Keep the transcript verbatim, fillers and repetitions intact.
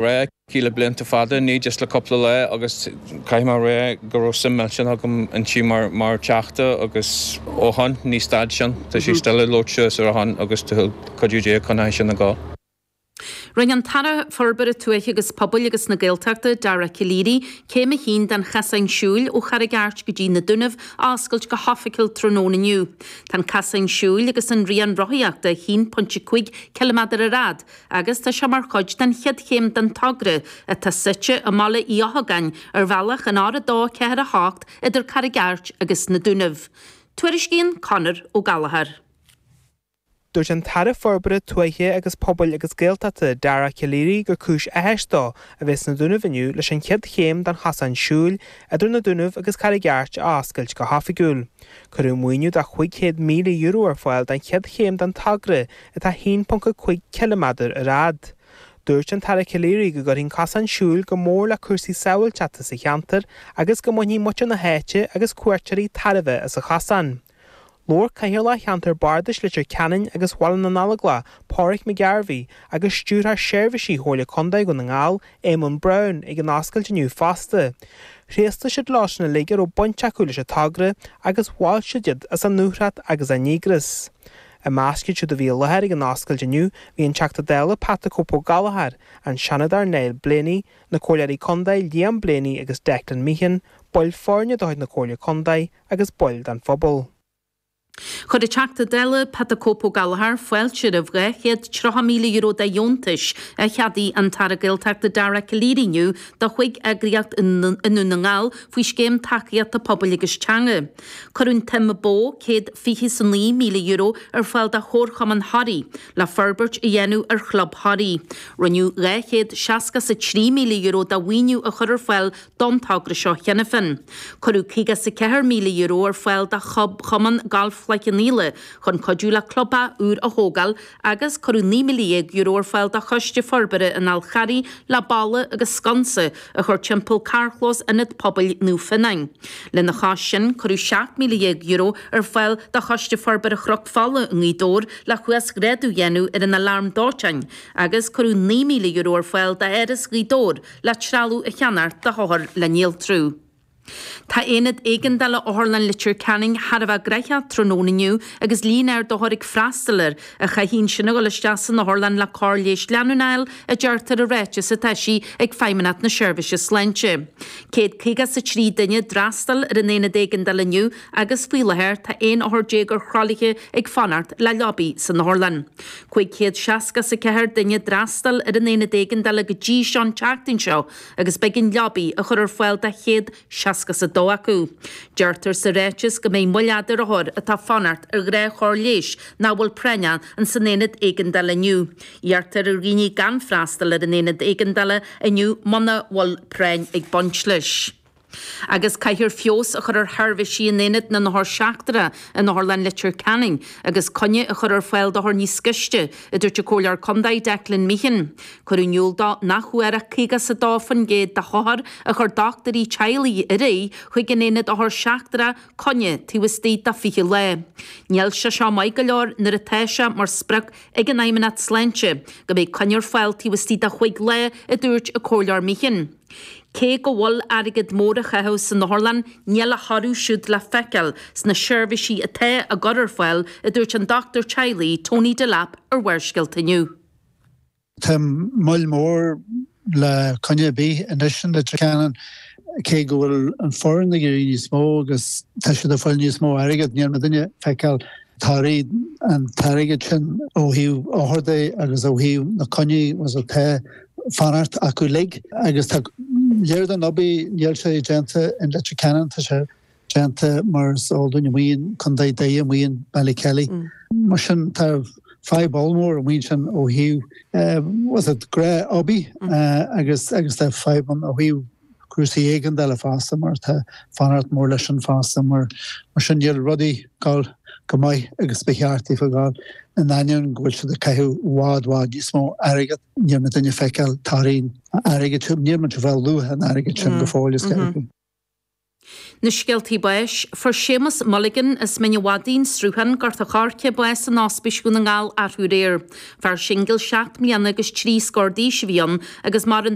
rá aici le blianta fada, ní just le cúpla lá agus caithfidh mé a rá go raibh suim millteanach agam inti mar mar Teachta agus ó shin ní stad sin, tá sí still ag labhairt ar a shon agus tá cuidiú Dé chun sin a gá. Rinne an tAire Forbartha Tuaithe agus Pobail agus na Gaeltachta, Dara Calleary, céim a haon den chasán siúil ó Charraig Airt go dtí na Dúnaibh a oscailt go hoifigiúil tráthnóna inniu. Tá an casán siúil agus an rian rothaíochta a haon pointe cúig ciliméadar ar fhad agus tá sé mar chuid den chéad chéim den togra atá suite i mBaile Uí Eochagáin ar bhealach an R a dó ceathair a hocht idir Carraig Airt agus na Dúnaibh. Tuairiscíonn Conor Ó Gallchóir. Dúirt an tAire Forbartha Tuaithe agus Pobail agus Gaeltachta Dara Calleary gur cúis áthais dó a bheith sna Dúnaibh inniu leis an chéad chéim den chasán siúil idir na Dúnaibh agus Carraig Airt a oscailt go hoifigiúil. Cuireadh maoiniú de chúig chéad míle euro ar fáil don chéad chéim den togra atá haon ponc cúig ciliméadar ar fhad. Dúirt an tAire Calleary go gcuirfidh an casán siúil go mór le cúrsaí sábháilteachta sa cheantar agus go mbainfidh muintir na háite agus cuairteoirí tairbhe as an chasán. Labhair Cathaoirleach Cheantar Bardais Leitir Ceanainn agus Bhaile na nGallóglach, Pádraig McGarvey, agus Stiúrthóir Seirbhísí Chomhairle Contae Dhún na nGall, Éamonn Brown, ag an oscailt inniu fosta. Thréaslaigh siad leo sin uilig a raibh baint acu leis an togra agus mhol siad iad as a ndúthracht agus a ndíograis. I measc iad siúd a bhí i láthair ag an oscailt inniu bhí an Teachta Dála Pat the Cope Ó Gallchóir, an Seanadóir Niall Blaney, na Comhairleoirí Contae Liam Blaney agus Declan Meehan, baill foirne de chuid na Comhairle Contae agus baill den phobal. Chuir an Teachta Dála Pat the Cope Ó Gallchóir fáilte roimh dhá chéad tríocha míle euro de dheontais a cheadaigh an tAire Gaeltachta Dara Calleary inniu do chúig eagraíocht i nDún na nGall faoi scéim tacaíochta pobail agus teanga. Cuireadh an tsuim ba mhó céad fiche is a naoi míle euro ar fáil do Chomharchumann Thoraí le forbairt a dhéanamh ar Chlub Thoraí. Rinneadh dhá chéad seasca is a trí míle euro de mhaoiniú a chur ar fáil don togra seo cheana féin. Cuireadh caoga is a ceathair míle euro ar fáil do Chumann Gailf Chloich Cheann Fhaola chun cuidiú le clubtheach úr a thógáil agus cuireadh naoi míle dhéag euro ar fáil do Choiste Forbartha an Fháil Charraigh le balla agus sconsa a chur timpeall carrchlós Ionad Pobail Naomh Fionáin. Lena chois sin, cuireadh seacht míle dhéag euro ar fáil do Choiste Forbartha Chnoc Fola i nGaoth Dobhair le huasghrádú a dhéanamh ar an alarm dóiteáin agus cuireadh naoi míle euro ar fáil d'Áras Ghaoth Dobhair le trealamh a cheannacht do thóchar le néaltrú. Tá aonad éigeandála Otharlann Leitir Ceanainn thar a bheith gnaitheach tráthnóna inniu agus líon ard othar ag freastal air a chaithfidh ansin a dhul isteach san otharlann le cóir leighis leanúnach a fháil, a deirtear i ráiteas atá eisithe ag Feidhmeannacht na Seirbhíse Sláinte. Céad caoga is a trí duine d'fhreastail ar an aonad éigeandála inniu agus faoi láthair tá aon othar déag ar thralaithe ag fanacht le leabaí san otharlann. Cúig chéad seasca is a ceathair duine d'fhreastail ar an aonad éigeandála go dtí seo an tseachtain seo agus b'éigean leabaí a chur ar fáil do chéad seasca is a dó acu. Deirtear sa ráiteas go mbeidh moill fhada ar othair atá ag fanacht ar ghnáthchóir leighis nach bhfuil práinneach ins an aonad éigeandála inniu. Iarrtar ar dhaoine gan freastal ar an aonad éigeandála inniu muna bhfuil práinn ag baint leis. Agus caithfear feabhas a chur ar sheirbhísí in aonad na n-othar seachtrach in Otharlann Leitir Ceanainn agus coinne a chur ar fáil d'othair níos gaiste, a dúirt an Comhairleoir Contae Declan Meehan. Cuireadh in iúl dó nach bhfuair ach caoga is a dó faoin gcéad de hothair a chuir dochtúirí teaghlaigh ar aghaidh chuig an aonad othar seachtrach coinne taobh istigh de fiche lá. Níl sé seo maith go leor nuair atá sé mar sprioc ag an Fheidhmeannacht Sláinte go mbeidh coinne ar fáil taobh istigh de chúig lá, a dúirt an Comhairleoir Meehan. Cé go bhfuil airgead mór á chaitheamh san otharlann, níl a thoradh siúd le feiceáil sna seirbhísí atá á gcur ar fáil, a dúirt an dochtúir teaghlaigh Tony Delap ar Bharrscéalta inniu. Tá moill mhór le coinne ar bith anois in Leitir Ceanainn, cé go bhfuil an foireann ag éirí níos mó agus tá siad ag fáil níos mó airgead, níl muidinne ag feiceáil torthaí an t-airgead sin ó thaobh othar de agus ó thaobh na coinní was atá fanacht acu uilig agus tá léir den obair níl sé déanta in Leitir Ceanainn, tá sé déanta mar is eol dúinn amuigh in Contae Doire, amuigh in Ballykelly. Mar sin tá fadhb ollmhór amuigh ansin ó thaobh was it gnáthobair agus agus tá fadhb ann ó thaobh cúrsaí éigeandála fosta mar tá fanacht mór leis sin fosta mar mar sin níl rudaí ag gabháil go maith agus ba cheart daofa gabháil in ainneoin go bhfuil siad ag caitheamh i bhfad bhfad níos mó airgead níl muidinne ag feiceáil torthaí an airgid sin níl muid ag fáil luach an airgid sin go fóill is ceart. Na scéaltaí báis, fuair Séamus Mulligan as Mín an Mhadaidh, Sruthán, Gort an Choirce bás in Ospís Dhún na nGall arú aréir. Fear singil seacht mbliana agus trí scór d'aois a bhí ann agus maireann